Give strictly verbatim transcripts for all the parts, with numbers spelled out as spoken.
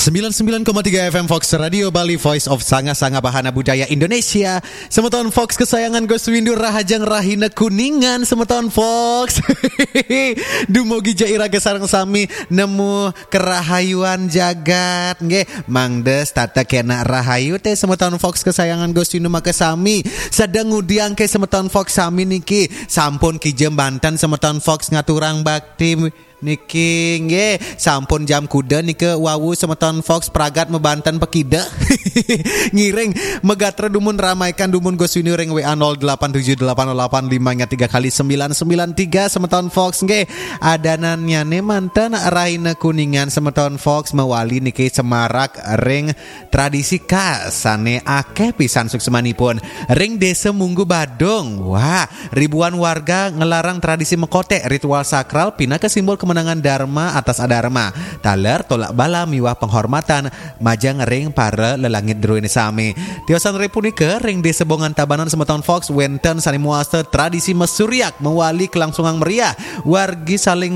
Sembilan sembilan koma tiga F M Fox Radio Bali, Voice of Sanga-Sanga Bahana Budaya Indonesia. Semeton Fox kesayangan Gus Windu, rahajeng rahina Kuningan, semeton Fox. Dumugi ja iraga sareng sami nemu kerahayuan jagat, nggih. Mangda setata kena rahayu teh, semeton Fox kesayangan Gus Windu maka sami. Sedeng ngudiang ke semeton Fox sami niki. Sampun kija banten semeton Fox ngaturang bakti niki, nggih. Sampun jam kuda nika wau semeton Fox pragat mebanten pekida. Ngiring megatra dumun, ramaikan dumun Gus Windu ring W A nol delapan tujuh delapan nol delapan lima tiga kali sembilan sembilan tiga, semeton Fox, nggih. Adanannyane manten rahina Kuningan, semeton Fox, mawali niki semarak ring tradisi khas sane akeh pisan suksemanipun. Ring Desa Munggu Badung, wah, ribuan warga ngelarang tradisi mekotek, ritual sakral pinaka simbol kemenangan Dharma atas Adharma, taler tolak bala miwah penghormatan majeng ring para lelangit druene sami. Tiosan ring punika, ring Desa Bongan Tabanan, semeton Fox, wenten sane mawasta tradisi mesuryak mawali kelangsungan meriah. Wargi saling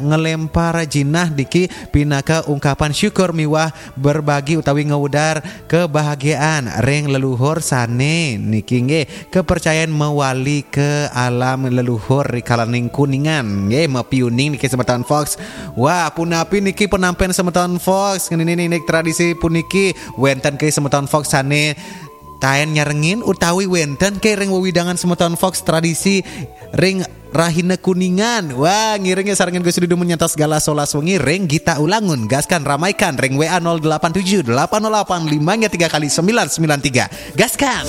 ngelempar jinah niki pinaka ungkapan syukur miwah berbagi utawi ngawedar kebahagiaan ring leluhur sane niki, nggih, kepercayaan mawali ke alam leluhur rikalaning Kuningan, nggih, mapiuning niki semeton Fox. Wah, punapi niki penampen semeton Fox ngenini niki tradisi puniki? Wenten ke semeton Fox sane taen nyarengin utawi wenten ke ring wewidangan semeton Fox tradisi ring rahina Kuningan? Wah, ngiringe sarengin Gus Dudu menyantas galah solas wengi ring Gita Ulangun. Gaskan, ramaikan ring W A nol delapan tujuh delapan nol delapan lima tiga kali sembilan sembilan tiga. Gaskan!